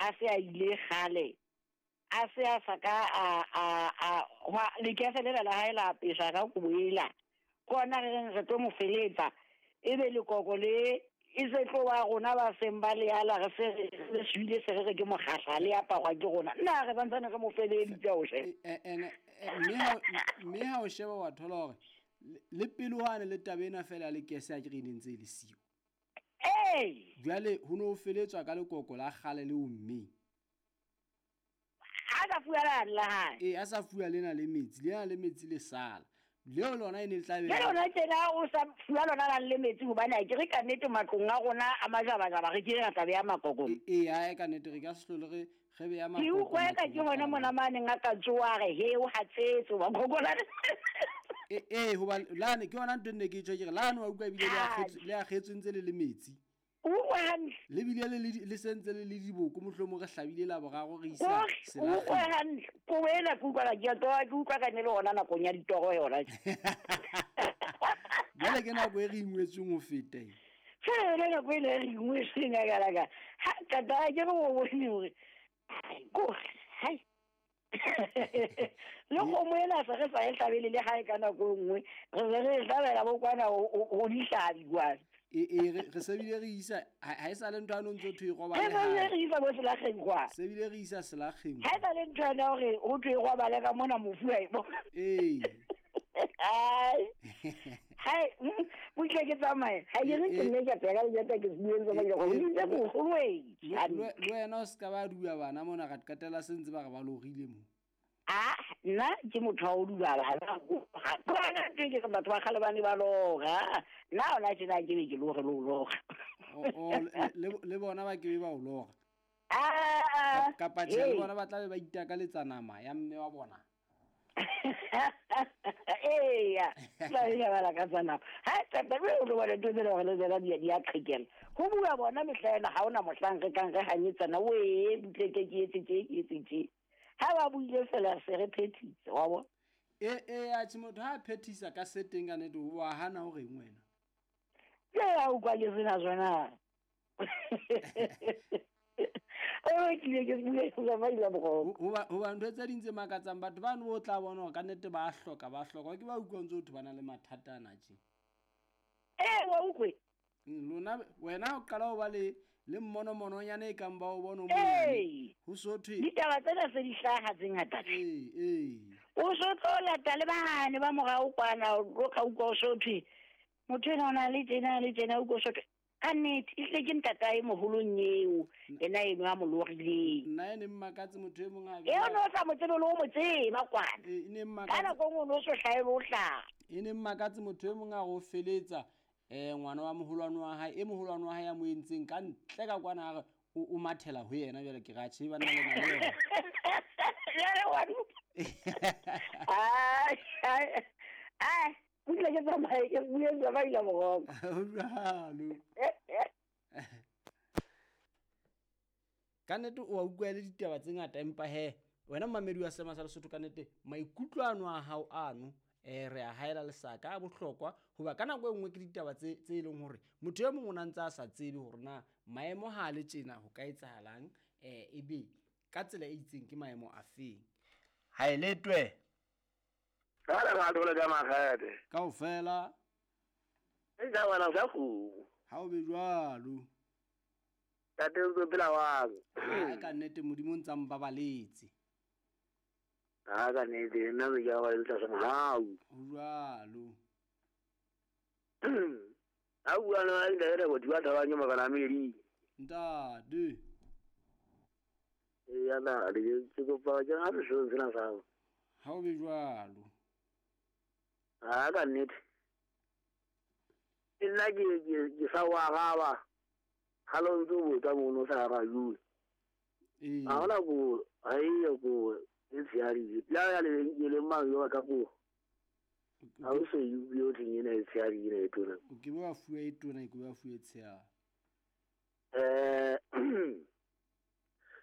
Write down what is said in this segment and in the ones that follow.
a se a ile kgale, a se a sa ka a a a hwa lekese lela la hae la apeswa ka kobo ela. Ke hona re reng re tlo mo feletsa, ebe lekoko le e se tlo ba rona ba seng ba le ala re se re re shwile se re re ke mokgahla le aparwa ke rona. Nna re santsane re mo feleditse o shebe. Ene mme ha o sheba wa thola hore le pele hwane le taba ena fela ya lekese a ke re e ne ntse e le siyo. Ee. Jwale ho no feletswa ka lekoko la kgale le ommeng. A sa fuwa lane la hae. Ee, a sa fuwa lena le metsi, lena le metsi le sala. Leo lona e ne le tla be Le lona tjena o sa fuwa lona lane le metsi hobane a ke re ka nnete matlong a rona a majabajaba re kile ra tla beya makoko. Ee, ae ka nnete re ka se hlole re re beya Ke makoko utlwa eka ke matlong a hona mona rona. ma neng a ka tsoha a re he o hatsetse makoko lane. Ee, hoba lane ke yona ntho e nne ke tjho ke re lane wa utlwa ebile le akgetswe le akgetswe ntse le le metsi. O utlwa hantle. Le bile le le sentse le le diboko mohlomong re hlabile la boraro re isa O utlwa selakgeng. hantle. Kobo ena ke utlwa ke a tloha ke utlwa ka ne le hona nakong ya ditoro yona. Jwale ke nako e re ingwetsweng ho feta e. Fela yona nako ena e re ingwetsweng ya ka la ka. Ha tata ke re o bone hore kore hai. Le kgomo ena se re sa e hlabele le hae ka nako e nngwe re se re e hlabela bo kwana ho dihlabi kwana. Ee re se bile re isa ha e sa le ntho ya no ntso thwe e robale Re se bile hae. re isa bo selakgeng kwana. Se bile re isa selakgeng. Ha e sa le ntho yana hore ho thwe e robale ka mona mofu a e bona. Ee. Hai. Hai, butle ke tsamaye. Ha ke re ke nne ke tsaya ka lejata ke se bue tsamaya go ntse go goloe. Le wena o se ka ba dua bana mona ra qetella se ntse ba re ba lorile mo. Ah, nna ke motho wa ho dula bana. Kwana ke ke batho ba kgale ba ne ba lora. Nna hona tjena ke be ke lore le ho lora. O le bona ba ke be ba o lora. Ah. Kapa tjhe le bona ba tla be ba itakaletsa nama ya mme wa bona. Eya, tla be ba lakatsa nama. Ha tata be o lo bona ntho tsena hore le tsena di a qhekela. Ho bua bona mehla ena ha hona mohlang re kang re hanyetsana we butle ke ke etse tje ke etse tje. Ha ba buile fela se re phethitse wa bona. Ee atjhe motho ha a phethisa ka se teng ka nnete wa hana o reng wena. Ke a utlwa ke sena sona. O tlile ke bue ke tsamaile boroko. Hoba ntho tse ding tse makatsang batho bano o tla bona hore ka nnete ba hloka ba hloka ke ba utlwa ntse ho thwe ba na le mathata ana tje. Ee wa utlwe. Lona wena o qala ho ba le mmonomononyana e kang ba o bona o monyane. Ho so thwe ditaba tsena se di hlaha tse ngata. Ee. O so tlo lata le bane ba morao kwana o ka utlwa o so thwe motho ena o na le tjena le tjena o utlwa o so thwe ka nnete ehlile ke ntatae moholong eo ena eno a mo lorileng. Nna e ne mmakatse motho e mong a Eo no sa mo tsebe le o mo tseba kwana. E ne Ka mmakatse. nako e nngwe o no so hlahe le ho hlaha. E ne mmakatse motho e mong a re o feletsa ngwana wa moholwane wa hae e moholwane wa hae ya mo entseng ka ntle ka kwana a re o mathela ho yena jwale ke ra tjhe bana le na le yena. Jwale wa Ai ai ai butle ke tsamaye ke bue tsamaile boroko. Ho jwalo. Ka nnete o a utlwa le ditaba tse ngata empa he wena mmamedi wa Seema sa Lesotho ka nnete maikutlo ano a hao ano re a haela lesaka a bohlokwa hoba ka nako e nngwe ke ditaba tse e leng hore motho e mong o na ntse a sa tsebe hore na maemo ha le tjena ho ka etsahalang ebe ka tsela e itseng ke maemo a feng. Ha e letwe. Ka le ra dole ka makgate. Kaofela. E ja wena sa kgomo. Ha o be jwalo. Tate o ntso phela wang. Ha ka nnete Modimo o ntsa mbabaletse. Ha ka nnete nna ke a ba le tlasa mohau. Ho jwalo. Ha bua le nna ntate re bothiwa thabang ke makana medi. Ntate. Ee ana le ke kopa ke ha re seo sena sa. Ha o be jwalo. Ha ka nnete. Nna ke sa wa araba. Ha lo ntso botsa mono sa arabile. Ee. Ha hona ko ha e ko e tshehadi. La ya le le mang yo ka ko. Ha o se yo theng ena e tshehadi ena e tona. O ke ba fuwe e tona ke ba fuwe tshehadi.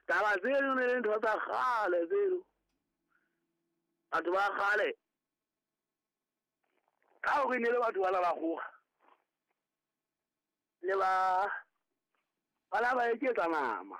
Taba tseno ne le ntho tsa kgale tseno. Batho ba kgale. Ka hore ne le batho ba la ba kgoga. Le ba la ba eketsa nama.